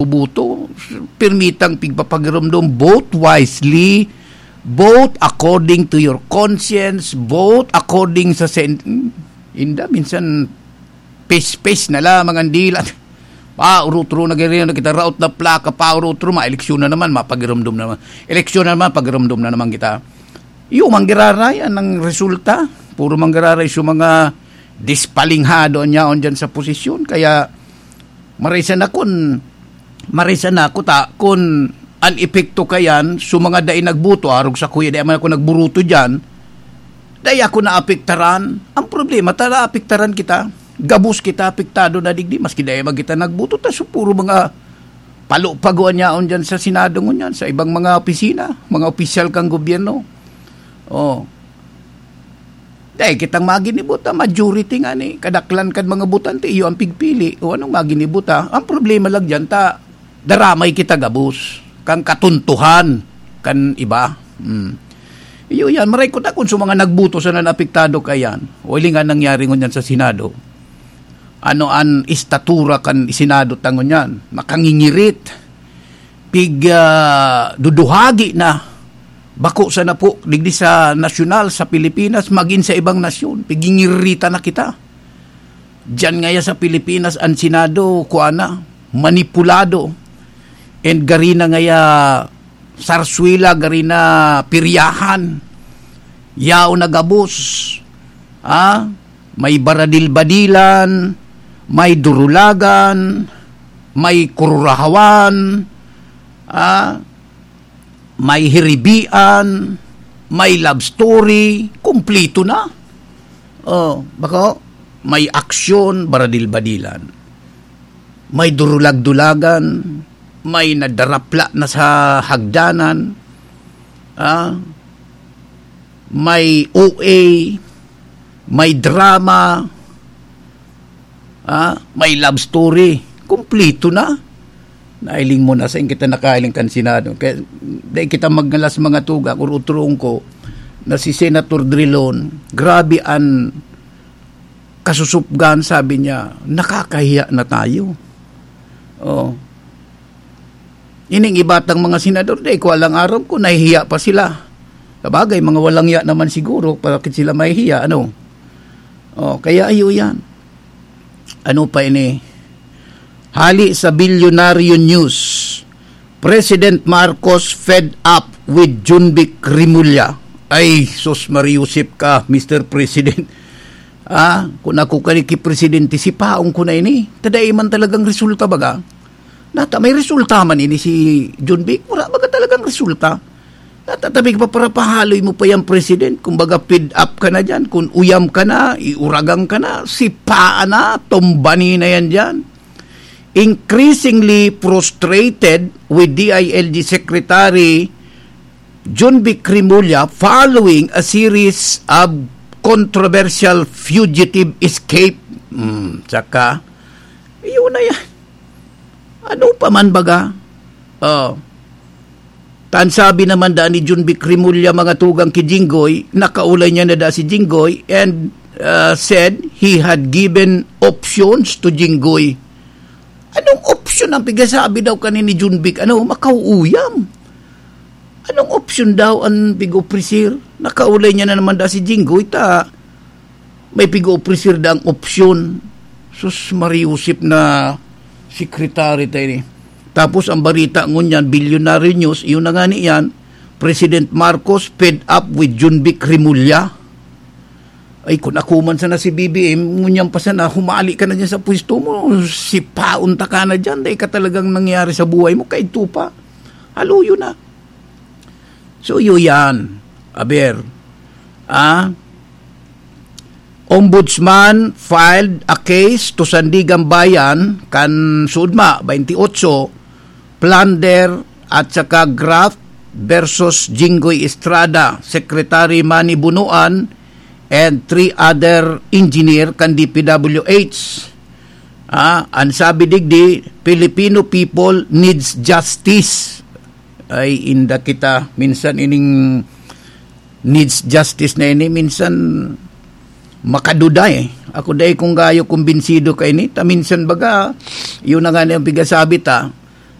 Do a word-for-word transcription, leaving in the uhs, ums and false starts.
boto, pirmitang pigpapagiromdom, vote wisely, vote according to your conscience, vote according sa sen-, inda, minsan, pes-pes na lamang ang dila. Paurutro na ganyan na kita, raot na plaka, paurutro, ma-eleksyon na naman, mapagiromdom na naman. Eleksyon na naman, pagiromdom na naman kita. Iyo, manggiraray ang resulta. Puro manggiraray sa mga dispalinghado niyaon dyan sa posisyon. Kaya, marisa na kun, marisa na kuta, kun an epekto kayan, sa mga dai nagboto, arog sa kuya, dai man ako nagburuto dyan, dai ako naapektaran. Ang problema, ta naapektaran kita. Gabos kita apektado na digdi, maski dai man kita nagboto, ta so puro mga palo-paguan yaon dyan sa Senado ngunyan, sa ibang mga opisina, mga opisyal kang gobyerno. Oh. Dai kitang maginibo ta, majority nga ni, kadaklan kan mga botante, iyo ang pigpili. O anong maginibo ta? Ang problema lang dyan, ta, daramay kita gabos, kan katuntuhan, kan iba. Hmm. Iyo yan, maray ko ta kung sa mga nagboto sana naapektado kayan. O, ili nga nangyari ngunyan sa Senado. Ano an estatura kan Senado ta ngunyan? Makangingirit. Pig, ah, duduhagi na. Bako sana po, digdi sa nasyonal, sa Pilipinas, magin sa ibang nasyon. Pigingirita na kita. Diyan ngaya sa Pilipinas, ang Senado, kuha na, manipulado. And gari na ngaya, sarswila, gari na piryahan. Yaon na gabos. Ah, may baradil-badilan, may durulagan, may kururahawan, ah, may hiribian, may love story, kumplito na. Oh, bako, may aksyon, baradil-badilan. May durulag-dulagan, may nadarapla na sa hagdanan, ah, may O A, may drama, ah, may love story. Kumplito na. Nailing mo na, sain kita nakailing kan Senado. Kaya, dai kita magnalas mga tugang, uruturon ko, na si Senator Drilon, grabe an kasusupgan, sabi niya, "Nakakahiya na tayo." Oh. Ining iba tang mga senador, dai ko alang aram kung nahihiya pa sila. Sabagay, mga walang hiya naman siguro, bakit sila mahihiya, ano? Oh, kaya iyo yan. Ano pa ini? Hali sa Bilyonaryo News, President Marcos fed up with Jonvic Remulla. Ay, sus, mariusip ka, Mister President. Ah, kung ako kani ki presidente, sipaon ko na ini. Ta dai man talagang resulta, baga. Nata, may resulta man ini si Jonvic? Wala, baga, talagang resulta. Nata, tabi pa para pahaloy mo pa yung president. Kung baga, feed up ka na dyan. Kung uyam ka na, iuragang ka na, sipaan na, tumbani na yan dyan. Increasingly frustrated with D I L G Secretary Jonvic Remulla following a series of controversial fugitive escape. Hmm, saka, yun na yan. Ano pa man baga? Oh. Tan sabi naman da ni Jonvic Remulla, mga tugang, ki Jinggoy, nakaulay niya na da si Jinggoy and, uh, said he had given options to Jinggoy. Anong option ang pigasabi daw kani ni Jonvic? Ano, makauuyam? Anong option daw ang pig-ofrecer? Nakaulay niya na naman da si Jinggoy, ta may pig-ofrecer da ang option. Sus, mariusip na secretary tayo ni. Tapos ang balita ngunyan, Bilyonaryo News, iyon na nga niyan, President Marcos fed up with Jonvic Remulla. Ay, kung ako man sana si B B M, ngunyan pa sana, humali ka na dyan sa pwesto mo, sipaon ta ka na dyan, dahil ka talagang nangyari sa buhay mo, kaidto pa. Haluyo na. So, iyo yan. Aber, ah, Ombudsman filed a case to Sandiganbayan kan Sudma, twenty-eight, plunder at saka graft versus Jinggoy Estrada, Secretary Manny Bonoan, and three other engineer kan D P W H. Ah, ang sabi digdi, "Filipino people needs justice." Ay, inda kita. Minsan ining needs justice na ini, minsan makaduda eh. Ako dai kung gayo kumbinsido ka ini. Ta minsan baga, yun na nga na yung pigasabi ta,